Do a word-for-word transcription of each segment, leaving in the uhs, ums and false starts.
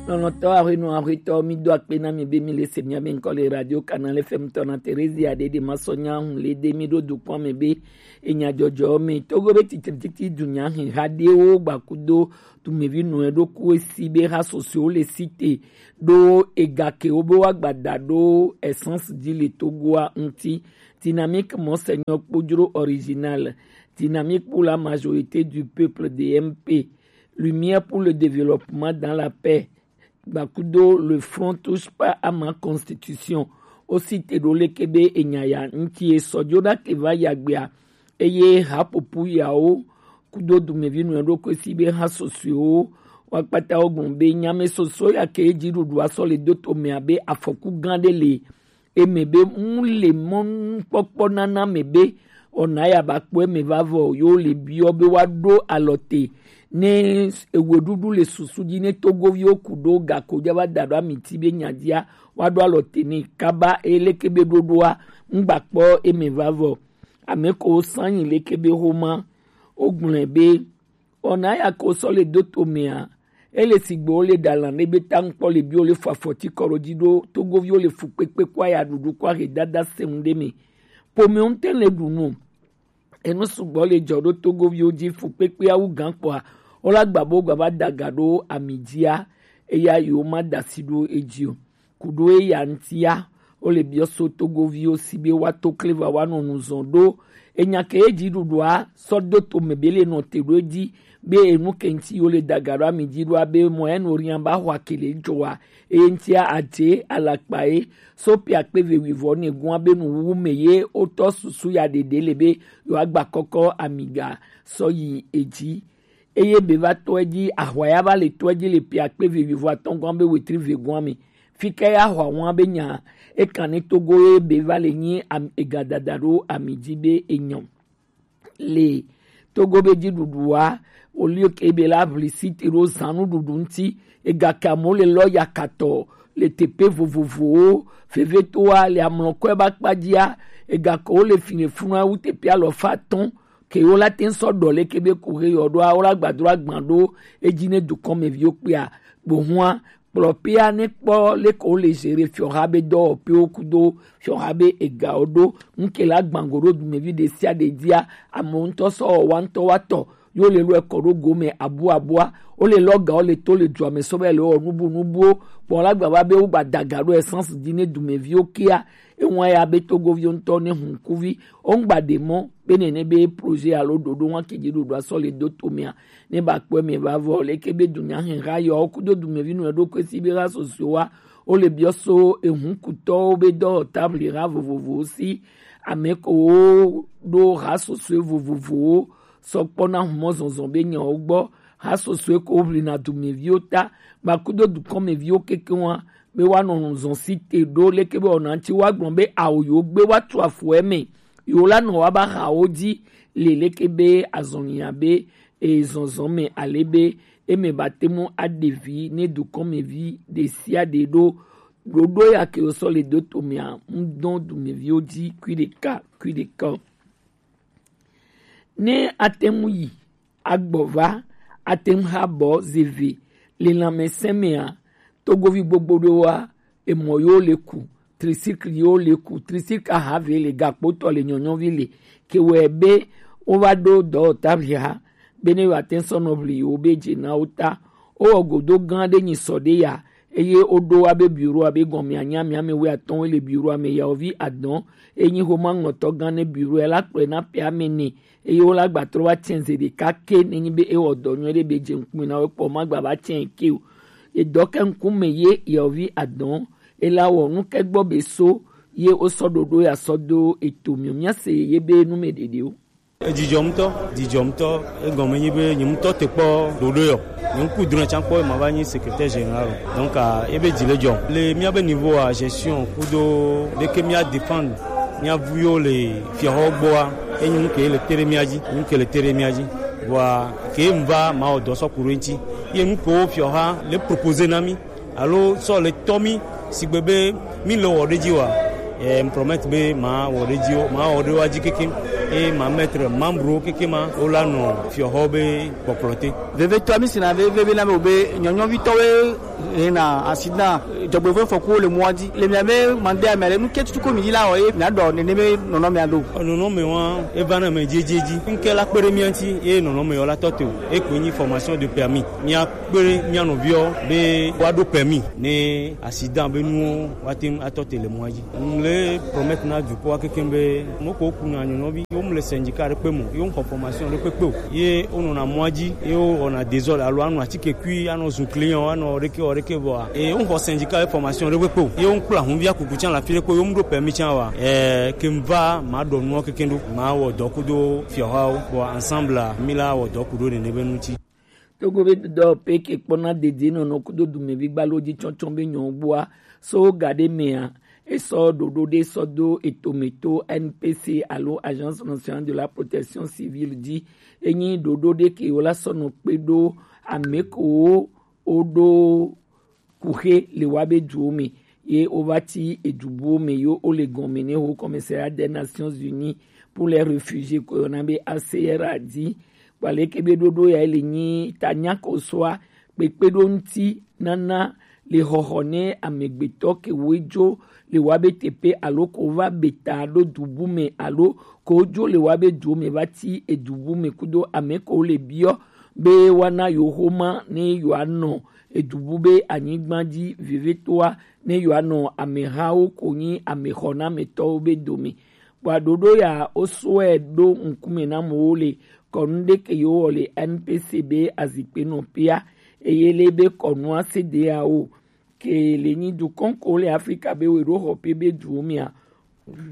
Lɔlɔ̃tɔ ahwenu ahwetɔ, mi do akpe na mi be mi le se mia be ŋkɔ le Radio Canal F M tɔ na Theresia Dede Masɔnya Hunlede. Mi ɖo dukɔa me be enya jɔjɔ me Togo be titrititi dunya hiha ɖewo gbakudo dumevi nɔe ɖo ku esi be ha sɔsɔewo le site ɖo ega ke wo be wa gbada ɖo essence ji le Togoa ŋuti. Dynamique Monseigneur Kpojro original, Dynamique pour la majorité du peuple, D M P, Lumière pour le développement dans la paix, gbakudo le front touche pas à ma constitution. Wo site ɖo leke be enya ya ŋuti e sɔ jo ɖa ke va ya gbea. Eye haƒoƒo yawo kudo dumevi nɔe ɖo ku esi be ha sɔsɔewo wa kpata wo gblɔ be nyame sɔsɔ ya ke dziɖuɖu asɔ le do to me abe afɔku gã ɖe le eme be ŋu le mɔnukpɔkpɔ nana me be ɔna ya ba kpɔ eme va vɔ yo le biɔ be wa ɖo alɔ te ne ewe ɖuɖu le susu dzi ne togoviwo ku ɖo gako dza va da ɖo amiti be nya dzia wa ɖo alɔ te ne kaba eleke be ɖoɖoa ŋgba kpɔ eme va vɔ. Ame ko sanyi leke be homa o gblɔe be ɔna ya ko sɔ le do to mea. Ele sigbe wo le ɖalan ɖe be ta ŋkpɔ le bi wo le fɔ afɔti kɔ ɖo dzi ɖo togoviwo le fu kpekpe kɔ aya ɖuɖu kɔ ahe dada sɛŋ ɖe me. Pomewo ŋutɛ le ɖu nu. Enu sugbɔ le dzɔ ɖo togoviwo dzi fu kpekpe awu gã kpɔa, wo la gba bo gba va daga ɖo ami dzia. Eya yi wo ma da asi ɖo edzi o. Kuɖo eya ŋutia, wo le biɔ so togoviwo si be wa to kle va wa nɔ nu zɔn ɖo enya ke ye dziɖuɖua sɔ do to me be le nɔ te ɖo edzi be enu ke ŋuti yo le daga ɖo ami dzi ɖo abe mɔ enu rian ba xɔ akele dzɔa eye ŋutia adze alakpa ye so pe akpe ve wivɔ ne gua be nu wu me ye wotɔ susu ya ɖeɖe le be yo agba kɔkɔ ami ga sɔ yi edzi. Eye be va tɔ edzi ahwa ya va le tɔ edzi le pe akpe ve wivɔ atɔngua be wetri ve gua me. Fika ya xɔ àwọn be nya ekan ne togo ye be va le nyi ega dada ɖo ami dzi be enyɔ le togo be dziɖuɖua wòlio ke be la ʋli site ɖo zãnu ɖuɖu ŋuti. Egake amewo le lɔ yakatɔ le teƒe vovovowo. Vevetoa le amlɔkɔe ba kpadzia egake wo le fi le funu awu teƒe alɔfa atɔ̃ ke wo la te ŋu sɔ ɖɔ leke be ku he yɔ ɖoa wo la gbadro agban ɖo edzi ne dukɔmeviwo kpea. Gbohua kplɔpea ne kpɔ leke wo le gere fiɔha be dɔwɔƒewo kudo fiɔha be egawo ɖo ŋke la gbango ɖo dumevi ɖe sia ɖe dzia. Amewo ŋutɔ sɔ wɔ wa ŋutɔ wa tɔ yo le lɔ ekɔ ɖo gome abu abua wo le lɔ ga wo le to le dua me sɔ be le wɔ nubu nubuwo. Kpɔ la gbava be wo gba daga ɖo essence dzi ne dumeviwo kea. Ewa ya be togoviwo ŋutɔ ne hunkuvi wo ŋgba ɖe mɔ be nene be projet alo ɖoɖo wa ke dzi ɖoɖo asɔ le do to mea ne ba kpɔ me va vɔ leke be dunya hɛha yɔ kudo dumevi nɔ ɖo kwe si be ha sɔsɔe wa wo le biɔ so ehunkutɔwo be dɔ table ha vovovowo si ame ko wo ɖo ha sɔsɔe vovovowo sɔ kpɔ na humɔ zɔzɔ be nyawo gbɔ ha sɔsɔe ko ʋli na dumeviwo ta ba kudo dukɔmeviwo keke wa be woanɔ nu zɔn si te ɖo leke be wɔna ŋuti woagblɔ be awo yewo gbe woatu afu eme yewo la nɔ woaba hawo dzi le leke be azɔnya be ezɔzɔ me ale be eme ba te mu aɖe vi ne dukɔmevi ɖe sia ɖe ɖo ɖoɖo ya ke wosɔ le do to mea ŋu dɔn dumeviwo dzi kui ɖeka kui ɖeka o. Ne ate ŋu yi agbɔ va ate ŋu ha bɔ zeve le lãmesẽ mea togovi gbogbo ɖewoa emɔ yewo le ku tricycle yewo le ku tricycle ahave le gakpotɔ le nyɔnyɔvi le ke wɔe be wova ɖo dɔwɔtavi ha be ne yewoate ŋu sɔ nɔ ʋli yewo be dze na wo ta. Wowɔ godo gã ɖe nyi sɔ ɖe ya eye woɖo wa be bureau abe gɔmea nya mia me wɛ atɔ̃ le bureau ame yawovi adɔn enyi homa ŋlɔtɔ gã ne bureau la kplɔe na pe ame ne eye wo la gba trɔ va tsɛn ze ɖeka ke nenyi be ewɔ dɔ nyuie ɖe be dze ŋkume na wo kpɔ ma gba va tsɛn ke o. Edɔ ke ŋkume ye yewovi adɔn ela wɔ nu ke gbɔ be so ye wosɔ ɖoɖo ya sɔ do eto miɔ mia se ye be nu me ɖeɖe o. Edzidjɔ ŋutɔ, dzidjɔ ŋutɔ, egɔme nyi be nye ŋutɔ te kpɔ ɖoɖo yɔ. Nye ŋku drɔ̃ tsã kpɔ ma va nyi secrétaire général o. Donc, ah, ebe dzi le dzɔ. Le mia be niveau à gestion kudo ɖeke mia dépend mia vuyo le fiɔhɔ gbɔa enyi nu ke le te ɖe mia dzi nu ke le te ɖe mia dzi vɔa ke ŋva mawɔ dɔ sɔ ku ɖo eŋti ye nu kewo fiɔha le proposer na mi alo sɔ le tɔ mi sigbe be mi le wɔ ɖe dzi wa eh, promet be ma wɔ ɖe dzi ma wɔ ɖe wa dzi keke e ma mettre membre wo keke ma wo la nɔ fiɔhɔ be kpɔkplɔ te. Vevetɔ mi sina veve be na be o be nyɔnyɔvitɔwo Ena accident, dzɔgbevɔ̃e fɔkuwo le mɔa dzi. Le mia be mande amea le nu ke tututu ko mi dzi la wɔ ye mia dɔ nene be nɔnɔ mia do. Nɔnɔ me wa eva na me dzedzedzi. Nke la kpe ɖe mia ŋuti ye nɔnɔ me yɔ la tɔ te o. Eko nyi formation de permis. Mia kpe ɖe mia nɔviwo be woaɖo permis ne accident be nuwo woate ŋu atɔ te le mɔa dzi. Ŋu le promettre na dukɔa kekeŋ be mɔ ko kuna nyɔnɔvi, yewo mu le syndicat ɖe kpe mɔ, yewo xɔ formation ɖe kpekpe o. Ye wonɔna mɔa dzi, ye wowɔna désordre alo anɔ atike kui, anɔ zu client, anɔ ɖeke wɔ ɖeke vɔa. Ye wonɔ xɔ syndicat be formation ɖe kpekpe o. Ye wonɔ kpla hunvia kuku tsã le afi ɖe kpe, yewo mu ɖo permis tsã wa. Eh, ke va ma ɖɔ nuɔ kekeŋ ɖo, ma wɔ dɔ kudo fiɔhawo, bon, ensemble, mi la wɔ dɔ kudo nene be ŋuti. Togo be dɔ pe ke kpɔna dedienɔnɔ kudo dumevi gbalo dzi tsɔtsɔ be nyɔ gbɔa so ga ɖe mea esɔ ɖoɖo ɖe sɔ do etome to N P C alo Agence Nationale de la Protection Civile dzi. Enyi ɖoɖo ɖe ke wo la sɔ nɔ kpe ɖo ame ko wo ɖo kuxe le wa be duwo me ye wova ti edu buwo me yo wo le gɔme ne Haut Commissariat des Nations Unies pour les Réfugiés ko yɔna be A C R A dzi. Kpaleke be ɖoɖo ya le nyi ta nya ko soa kpekpe ɖo ŋuti nana le xɔxɔ ne amegbetɔ ke wo dzo le wa be teƒe alo ko va be ta ɖo dubu me alo ko dzo le wa be duwo me va ti edubu me kudo ame ko le biɔ be woana yewo xoma ne yewoanɔ edubu be anyigba dzi vevitoa ne yewoanɔ amehawo ko nyi amexɔnametɔwo be dome. Kpɔa ɖoɖo ya wosɔe ɖo ŋkume na amewo le kɔnu ɖe ke yewo wɔ le N P C be azikpe nɔ pea eye le be kɔnua se de ya o ke le nyi dukɔn ko le Afrika be we ɖo xɔ pe be duwo mea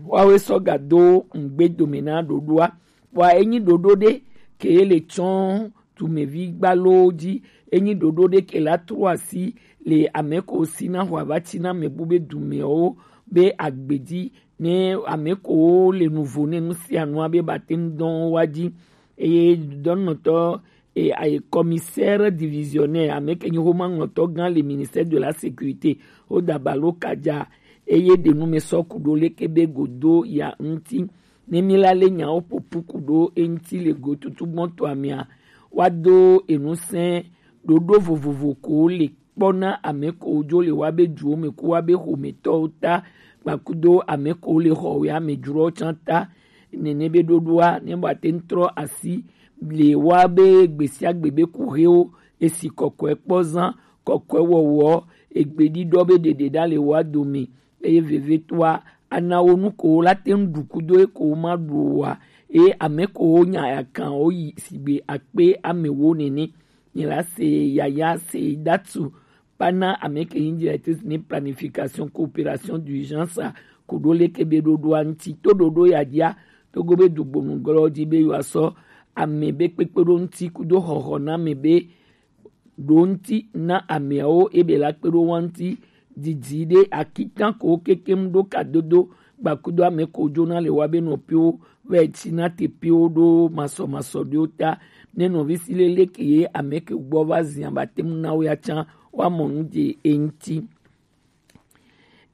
woawoe sɔ gado ŋgbe dome na ɖoɖoa. Kpɔa enyi ɖoɖo ɖe ke le tsɔ dumevi gbalowo dzi. Enyi ɖoɖo ɖe ke la tro asi le ame ko si na xɔ ava tsi na ame bu be dumewo be agbe dzi ne ame ko le nuvo ne nu sia nua be bate ŋu dɔn wa dzi. Eye dɔnɔtɔ e aye commissaire divisionnaire ame ke nyi homa ŋlɔtɔ gã le ministère de la sécurité o dabalo kadza eye ɖe nu me sɔ ku ɖo leke be godo ya ŋuti. Ne mi la le nyawo ƒoƒu ku ɖo eŋuti le gotutu gbɔntɔa mea, woado enusẽ ɖoɖo vovovo ko le kpɔ na ame ko dzo le wa be duwo me ku wa be xometɔwo ta kpakudo ame ko le xɔ ya me dzrowo tsã ta. Nene be ɖoɖoa ne ba te ŋu trɔ asi le wa be gbe sia gbe be kuxewo esi kɔkɔe kpɔ zã kɔkɔe wɔwɔ egbeɖiɖɔ be ɖeɖe ɖa le wa dome. Eye vevitɔa ana wo nu ko wo la te ŋu ɖu kudo ye ko wo ma ɖu o wa. Eye ame ko wo nya ya kan wo yi sigbe akpe ame wo nene. Nye la se yaya se datu pana ame ke nyi directrice ni planification coopération d'urgence a ko ɖo leke be ɖoɖoa ŋuti to ɖoɖo ya dzia togo be dugbonu glɔ dzi be yewoasɔ ame be kpekpeɖo ŋuti kudo xɔxɔ na ame be ɖo ŋuti na ameawo ebe la kpe ɖo wa ŋuti didi ɖe akitan ko kekem ɖo kadodo gbakudo ame ko dzona le wa be nɔpiwo vɛ tsi na tepiwo ɖo masɔmasɔ ɖewo ta ne nɔvi si lele ke ye ame ke gbɔ va zia ba tem na wo ya tsã wa mɔ nu dze eŋuti.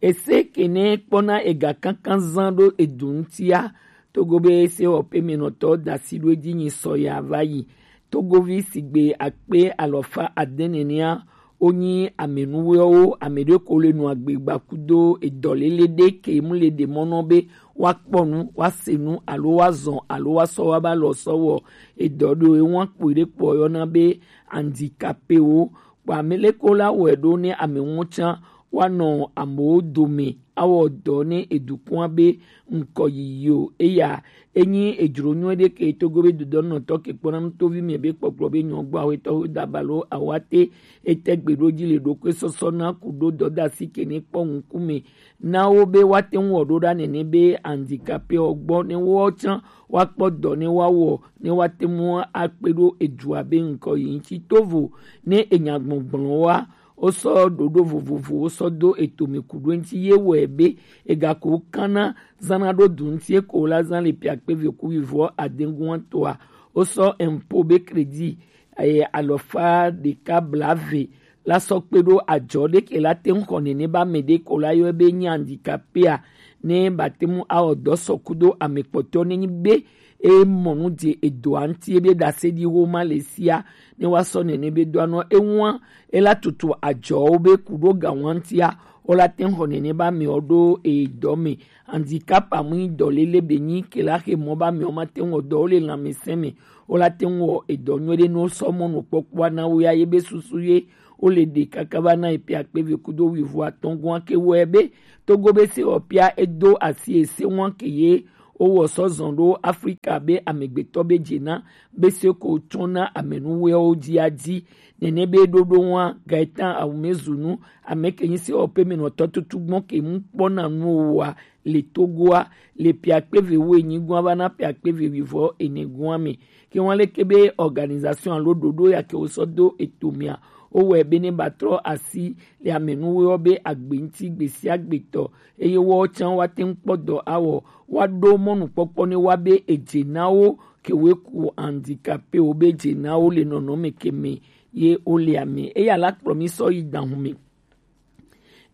Ese kene kpɔna ega kankan zan ɖo edu ŋutia togo be ese wɔƒe me nɔtɔ da asi ɖo edzi nyi sɔ ya va yi. Togovi sigbe akpe alɔfa ade nenea wonyi amenuwɔwo ame ɖe ko le nu agbe gbakudo edɔlele ɖe ke mu le ɖe mɔnɔ be woakpɔ nu woase nu alo woazɔ alo woasɔ woaba lɔ sɔ wɔ edɔ ɖo ewa kpɔe ɖe kpɔ yɔna be handicapéwo. Kpɔ ame leko la wɔe ɖo ne ame ŋu tsã woanɔ amewo dome awɔ dɔ ne edukɔa be ŋkɔ yiyi o. Eya enyi edzro nyuie ɖe ke togo be dodɔnɔtɔ ke kpɔna nutovi me be kpɔkplɔ be nyɔgba wetɔ wo dabalo awate ete gbe ɖo dzi le ɖokui sɔsɔ na ku ɖo dɔdasi ke ne kpɔ ŋkume na wo be woate ŋu wɔ ɖo ɖa nene be handicapé ɔ gbɔ ne wo tsã woakpɔ dɔ ne woawɔ ne woate ŋu akpe ɖo edua be ŋkɔ yi ŋuti tovo ne enya gbɔgblɔ wa wosɔ ɖoɖo vovovowo sɔ do etome ku ɖo ŋuti ye wɔe be egako kana zana ɖo du ŋuti eko la zã le piakpe ve ku vivɔ adeŋgua toa wosɔ empo be crédit eye alɔfa ɖeka blave la sɔ kpe ɖo adzɔ ɖe ke la te ŋu xɔ nene ba ame ɖe ko la yɔe be nyi handicapéa ne bate ŋu awɔ dɔ sɔ kudo ame kpɔtɔ ne nyi be e mɔ nu je edo anti e be da se di wo ma le sia ne wa sɔ nene be do anɔ e wan e la tutu ajɔ wo be ku do ga wan antia o la te xɔ nene ba mi o do e dɔ me. Handicap amu dɔ lele be nyi ke la xe mɔ ba mi o ma te wɔ dɔ o le lanmɛsɛn me o la te wɔ edɔ nyuie ɖe no sɔ mɔ no kpɔkpɔ na wo ya ye be susu ye o le ɖe kaka va na epia kpeve kudo wivo atɔngɔn ke wɔ ebe Togo be se ɔpia edo asi ese wan ke ye o wɔ sɔ zɔn ɖo Afrika be amegbetɔ be dze na be se ko tsɔn na amenuwɛwo dzi adzi. Nene be ɖoɖo wan Gaetan Awumezunu ame ke nyi se ɔpe me nɔtɔ tutu gbɔn ke mu kpɔ na nu wa le Togoa le pia kpeve wo enyi gɔn va na pia kpeve wivɔ ene gɔn me. Ke wan leke be organisation alo ɖoɖo ya ke wo sɔ do eto mia o wɛ be ne ba trɔ asi le amenuwo be agbe ŋuti gbe sia gbe tɔ eye wɔ can wa te ŋu kpɔ dɔ awɔ wa ɖo mɔnukpɔkpɔ ne wa be edze na wo ke wo ku handicapé wo be edze na wo le nɔnɔme ke me ye wo le ame eya la kplɔ mi sɔ yi dahun me.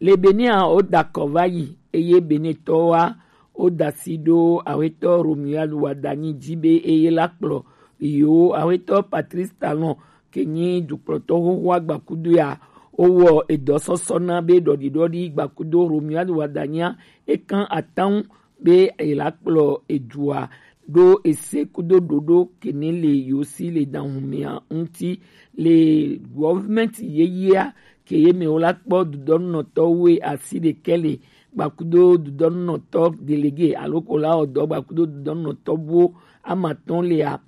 Le Benin a, wo da kɔ va yi eye Benintɔwoa wo da si ɖo awetɔ Romuald Wadagni dzi be eye la kplɔ yo awetɔ Patrice Talon ke nyi dukplɔtɔ xoxoa gbakudo ya wo wɔ edɔ sɔsɔ na be ɖɔɖiɖɔɖi gbakudo Romuald Wadagnia e kan atanwu be e la kplɔ edua ɖo ese kudo ɖoɖo ke ne le yo si le dahun mea ŋuti le gɔvmɛnti yeyea ke ye me wo la kpɔ dudɔnunɔtɔwo asi ɖekɛ le gbakudo dudɔnunɔtɔ delege alo ko la ɔdɔ gbakudo dudɔnunɔtɔ buwo amatɔn lea.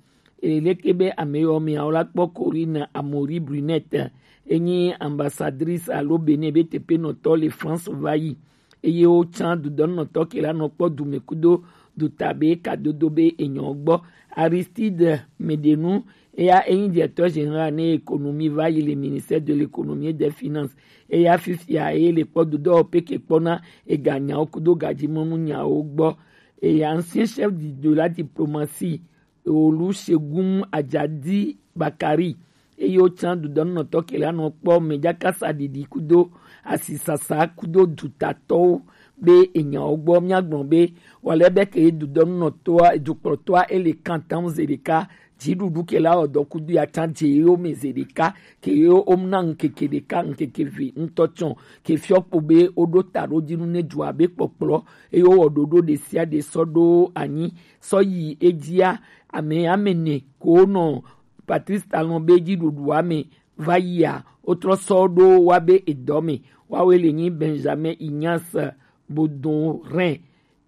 Eleke be ame yɔ mea wo la kpɔ Corinne Amaury Brunette enyi ambassadrice alo Benin be teƒenɔtɔ le France va yi eye wotsã dudɔnunɔtɔ ke la nɔ kpɔ dume kudo dutabe kadodo be enyɔ gbɔ. Aristide Medenu eya enyi directeur général ne économie va yi le ministère de l'économie et des finances eya fifia eye le kpɔ dudɔ peke kpɔna eganyawo kudo gadzimɔnu nyawo gbɔ. Eya ancien chef de, de la diplomatie Olusegun Ajadi Bakari eye wotsã dudɔnunɔtɔ ke la nɔ kpɔ mɛjakasa ɖiɖi kudo asisasa kudo dutatɔwo be enyawo gbɔ míagblɔ be wale be ke dudɔnunɔtɔa dukplɔtɔa ele kantan ze ɖeka dziɖuɖu ke la ɔdɔ kudo ya tsã dze yewo me ze ɖeka ke yewo omna ŋkeke ɖeka ŋkeke ve ŋutɔ tsɔ ke fiɔ kpo be woɖo ta ɖo dzi nu ne dua be kpɔkplɔ eye wowɔ ɖoɖo ɖe sia ɖe sɔ ɖo anyi sɔ yi edzia ame ame ne ko nɔ Patrice Talon be dziɖuɖua me va yia wotrɔ sɔ ɖo wa be edɔ me wawe le nyi Benjamin Ignace Bodorin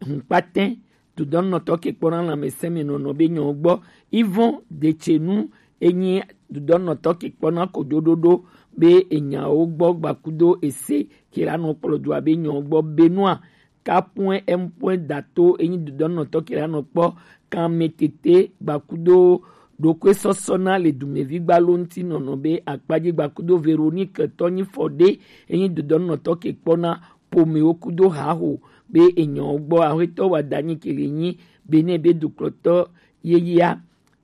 hunkpatɛ dudɔnunɔtɔ ke kpɔna lãmesẽ me nɔnɔ be nyɔ gbɔ. Yvon Detsenu enyi dudɔnunɔtɔ ke kpɔna kojoɖoɖo be enyawo gbɔ gbakudo ese ke la nɔ kplɔ dua be nyɔ gbɔ Benoit Kapuen Empuen Dato enyi dudɔnunɔtɔ ke la nɔ kpɔ kanmetete gbakudo ɖokui sɔsɔ na le dumevi gbalo ŋuti nɔnɔ be akpadzi gbakudo Véronique Tɔnyi Fɔɖe enyi dudɔnunɔtɔ ke kpɔna pomewo kudo haho be enyɔ gbɔ ahwetɔ wa danyi ke le nyi Benin be dukplɔtɔ yeyea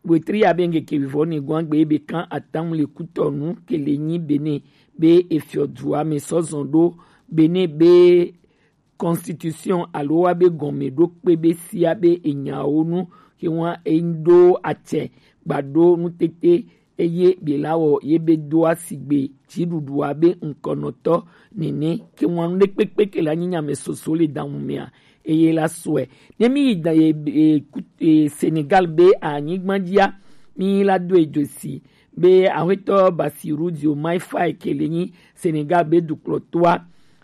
wetri ya be ŋkeke vivɔ ne gwan gbe be kan atam le kutɔnu ke le nyi Benin be efiɔ dua me sɔzɔn ɖo Benin be constitution alo wa be gɔme ɖo kpe be sia be enyawo nu ke wa eɖo atsɛ gbaɖo nutete eye be la wɔ ye be do asigbe dziɖuɖua be ŋkɔnɔtɔ nene ke wa nu ɖe kpekpe ke la nyi nyame soso le damu mea eye la sɔe ne mi yi da ye e, ku- e, Senegal be anyigba dzia mi la do edzo si be ahwetɔ Bassirou Diomaye Faye ke le nyi Senegal be dukplɔtɔa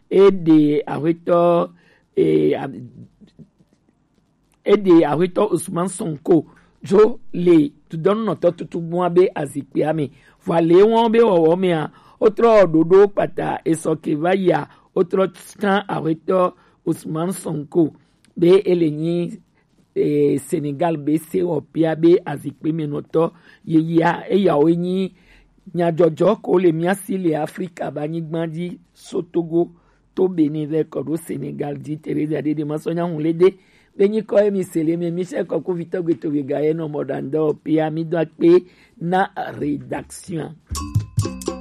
eɖe ahwetɔ e, a- eɖe ahwetɔ Ousmane Sonko dzo le dudɔnunɔtɔ tutugbua be azikpea me vɔa le wɔn be wɔwɔ mea wotrɔ ɖoɖo kpata esɔ ke va yia wotrɔ tsã ahwetɔ Ousmane Sonko be ele nyi e, Senegal be se wɔpia be azikpe me nɔtɔ yeyea eyawo nyi nyadzɔdzɔ ko le mía si le Afrika be anyigba dzi so Togo to Benin vɛ kɔ ɖo Senegal dzi. Teresa Dede ma sɔ nya ŋu le de be nyi kɔ emi se le me mi se kɔ ko vitɔ gbe to be ga ye nɔ mɔ ɖandɔ pia mi do akpe na rédaction.